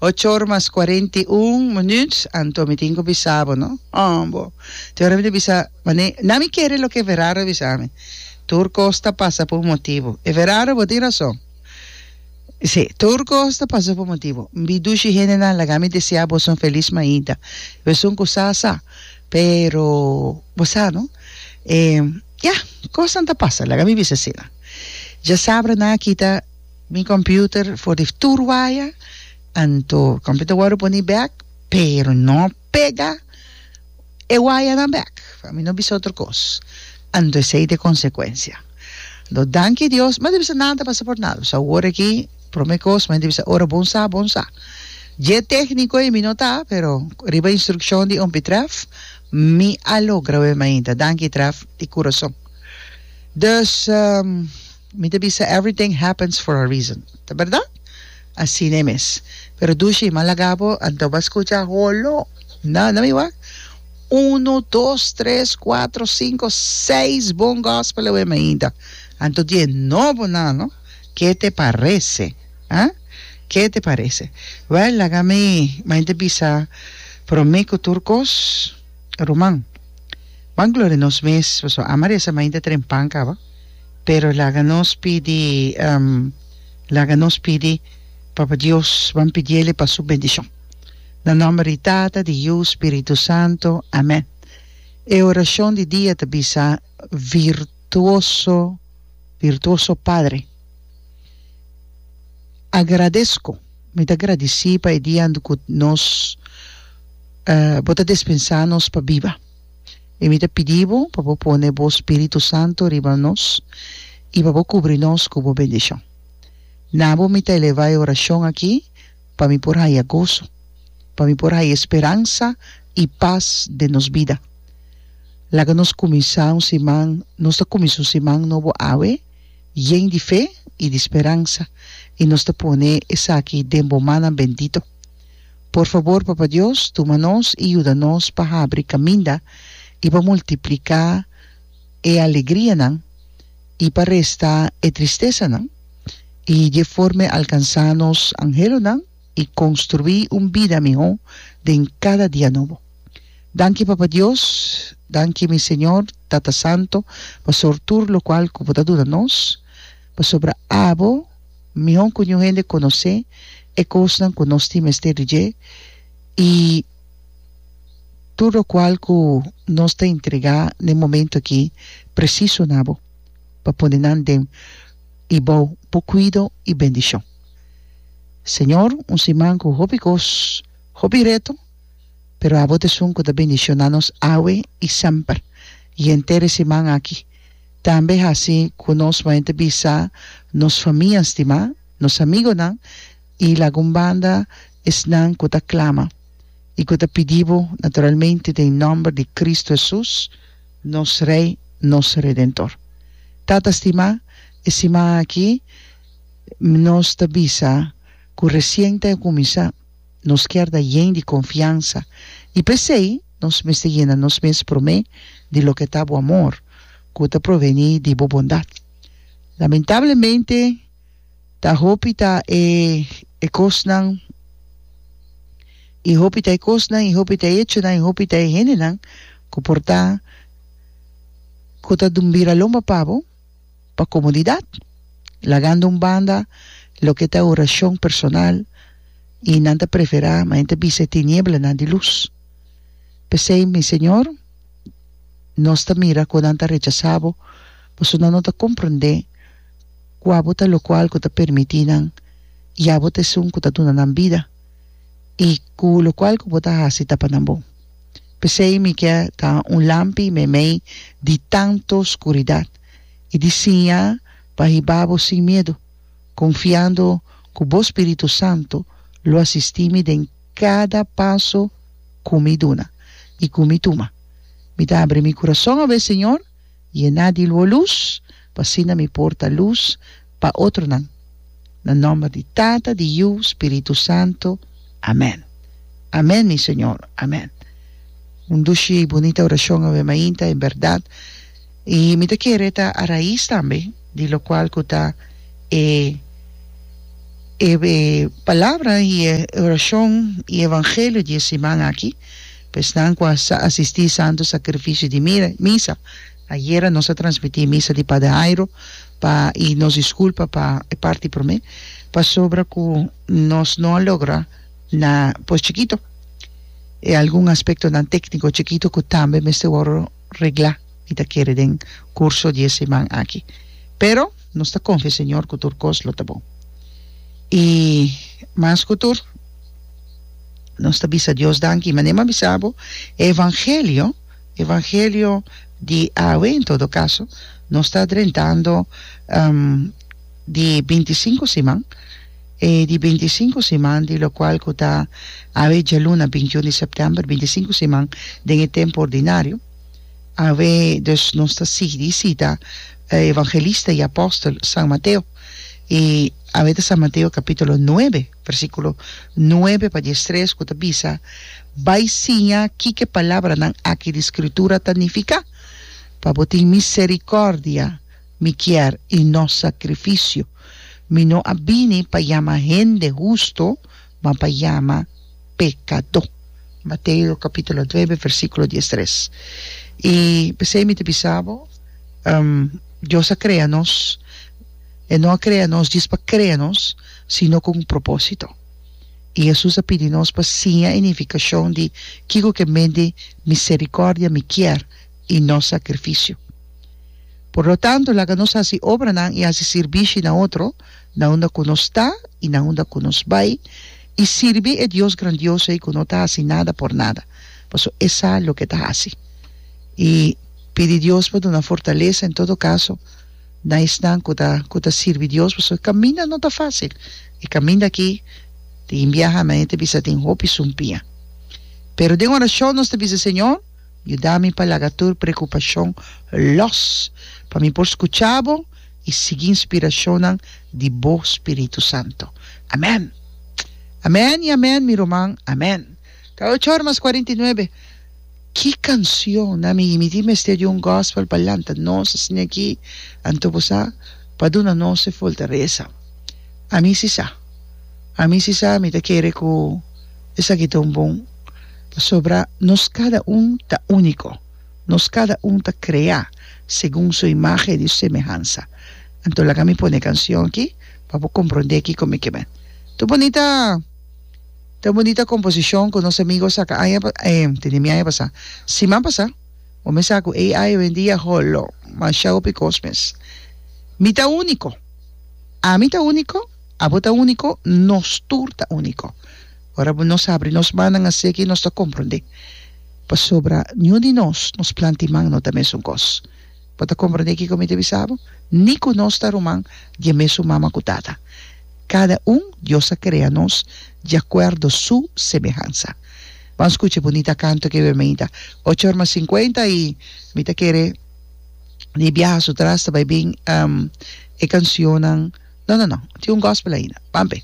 Ocho or mas 41 minuut, anto mi tin ku bisa bo, no? Oh, bo. Te ora mi ta bisa, mane, na mi kere loke Everardo a bisa mi. Tur kos ta pasa pa un motibu. Everardo, bo tin rason. Sí, tur kos ta pasa pa un motibu. Mi dushi hendenan, laga mi desea boso un felis mainta. Esun ku sa, sa. Pero, bo sa, no? E, ya, kosnan ta pasa, laga mi bisa asina. Djasabra nan a kita. Mi computer for di tur waya, anto computer wòrdu poni bèk, pero no pega e wayanan bèk, pa mi no bisa otro kos. Anto esei ta e konsekuensia. Anto danki Dios, mi a bisa nada ta pasa por nada, pasobra awor aki prome kos mi a bisa ora bon sa, bon sa. Dje tekniko ei mi no ta, pero riba instrukshon di Ompie Trèf mi a logra wei mainta. Danki Trèf di kurason. Dus. Mi ta bisa everything happens for a reason. Ta berdad? Asina e mes. Pero dushi, m'a laga bo, anto bo a scucha holo. No, no mi wak. Uno, dos, tres, cuatro, cinco, seis bon gospel awe mainta. Anto di e nobo nan, no? Ke te parece? Ah? Ke te parece? Wel, laga mi, mainta bisa prome cu tur cos, ruman. Ban gloria nos mes, pasobra ama reza mainta trempan caba. Pero laga nos pidi, laga nos pidi Papa Dios, ban pidiele pa su bendicion. Na nomber di Tata, di Yu, Spiritu Santo. Amen. E oracion di dia ta bisa, Virtuoso, virtuoso Padre, agradesco, mi ta gradici pa e dia cu nos, bo ta despensa nos pa biba. I mi ta pidi bo pa bo pone bo spiritu santu riba nos i pa bo kubri nos ku bo bendishon. Na bo mi ta elevá e orashon akí pa mi por haya goso, pa mi por haya speransa i pas den nos bida. Laga nos kuminsá un siman, nos ta kuminsá un siman nobo awe yen di fe i di speransa i nos ta pone esaki den bo mannan bendito. Por fabor, Papa Dios, tuma nos i yuda nos pa habri kaminda i pa multipliká e alegrianan i pa resta e tristesanan, i di e forma alkansá nos anhelonan i konstruí un bida mihó den kada dia nobo. Danki, Papa Dios, danki, mi Señor, Tata Santo, pasor tur lokual ku Bo ta duna nos, pasobra Abo, Mihó ku niun hende konosé e kosnan ku nos tin mester di dje i tur lokual ku nos ta entregá na e momentu akí presiso na bo pa pone nan den i bou bo kuido i bendishon. Señor, un siman ku hopi kos, hopi reto, pero abo ta esun ku ta bendishoná nos awe i semper i henter e siman akí. Tambe hasi ku nos maña ta bisa nos famia stimá, nos amigonan i lagun banda esnan ku ta klama i ku ta pidi bo naturalmente den nòmber di Kristu Hesus, nos Rei, nos Redentor. Tata stimá, e siman aki nos ta bisa ku resien ta kuminsá. Nos kier ta yen di konfiansa i p'esei nos mester yena nos mes promé di loke ta bo amor ku ta provení di bo bondat. Lamentablemente ta hopi ta e e kosnan i hopi ta e kosnan i hopi ta e echonan i hopi ta e hendenan ku por ta ku ta bira lomba pa bo. pa komodidat, lagando un banda loke ta orashon personal i nan ta preferá ma e ta bisa e tinieblanan di lus. P'esei, mi Señor, nos ta mira ku nan ta rechasá bo, pasobra nan no ta komprondé ku abo ta lokual ku ta permití nan i abo ta esun ku ta duna nan bida i ku lokual ku bo ta hasi ta pa nan bon. P'esei mi ke ta un lampi meimei di tantu skuridat i di siña pa hiba bo sin miedu, konfiando ku bo spiritu santu lo asistí mi den kada paso ku mi duna i ku mi tuma. Mi ta abri mi kurason awe, Señor, Yená di lo lus, pa asina mi por ta lus pa otronan. Na nòmber di Tata, di Yu, Spiritu Santu. Amèn. Amèn, mi Señor. Amèn. Un dushi i bunita orashon awe mainta, en bèrdat. I mi ta kere ta a rais tambe di lokual ku ta e. E palabra i e orashon i evangelio di e siman aki, pa esnan ku a sa asistí Santu Sakrifisio di Misa, ayera nos a transmití misa di Pader Jairo pa i nos diskulpa pa e parti promé, pasobra ku nos no a logra na pos chikito e algun aspektonan tékniko chikito ku tambe mester wòrdu reglá, mi ta kere den kurso di e siman aki. Pero. Nos ta konfia Señor ku tur kos lo ta bon. I mas ku tur, nos ta bisa Dios danki. Manera mi a bisa bo, e evangelio, evangelio di awe en todo kaso, nos ta drentando di bintisinku siman, e di bintisinku siman di lokual ku ta awe djaluna bintiun di sèptèmber, bintisinku siman den e tempu ordinario. Awe dus nos ta sigui sita evangelista i apòstel San Mateo. I awe ta San Mateo kapítulo nuebe, versíkulo nuebe pa diestres ku ta bisa, Bai siña kiko e palabranan aki di Skritura ta nifiká, Pa bo tin miserikòrdia mi kier i no sakrifisio. Mi no a bini pa yama hende hustu, ma pa yama pekadó. Mateo kapítulo nuebe versíkulo diestres. I p'esei mi ta bisa bo, Dios a krea nos, E no a krea nos djis pa krea nos, sino ku un propósito. I Hesus a pidi nos pa siña e nifikashon di kiko ke men di miserikòrdia mi kier i no sakrifisio. Por lo tanto, laga nos hasi obranan i hasi sirbishi na otro, na unda ku nos ta i na unda ku nos bai, i sirbi e Dios grandioso ei ku no ta hasi nada por nada, pasobra e sa loke e ta hasi. I pidi Dios pa duna fortalesa en todo kaso na esnan ku ta ku ta sirbi Dios, pasobra e kaminda no ta fásil. E kaminda aki tin biaha manera ta bisa tin hopi sumpia. Pero den orashon nos ta bisa, Señor, Yuda mi pa laga tur preokupashon lòs, pa mi por skucha bo i sigui inspirashonnan di bo spiritu santu. Amèn! Amèn i amèn, mi ruman, amèn! Ta ocho ora mas kuarenta i nuebe. Ki kansion! Na mi, mi tin mester di un gòspel pa lanta nos asina aki, anto bo sa, pa duna nos e fortalesa. Ami si sa. Ami si sa, mi ta kere ku esaki ta un bon. Pasobra nos kada un ta úniko, nos kada un ta kreá segun su imágen i su semehansa. Anto laga mi pone e kansion akí pa bo komprondé kiko mi ke men. Ta un bunita, ta un bunita komposishon ku nos amigu a saka aña pa, tende mi aña pasá, siman pasá. Bo mes sa ku AI oyendia holo masha hopi kos mes. Mi ta úniko. Ami ta úniko, abo ta úniko, nos tur ta úniko. Ora bo nos habri nos mannan aseki nos ta komprondé. Pasobra niun di nos, nos planta i man no ta mesun kos. Bo ta komprondé kiko mi ta bisa bo? Ni ku nos ta ruman di e mesun mama ku tata. Kada un Dios a krea nos di akuerdo su semehansa. Ban skucha e bunita kanto ke bemeinta. Ocho or mas sinkuenta i mi ta kere di biaha su tras ta bai bin e kansionnan. No, no, no. Tin un gospel ainda. Ban p'e.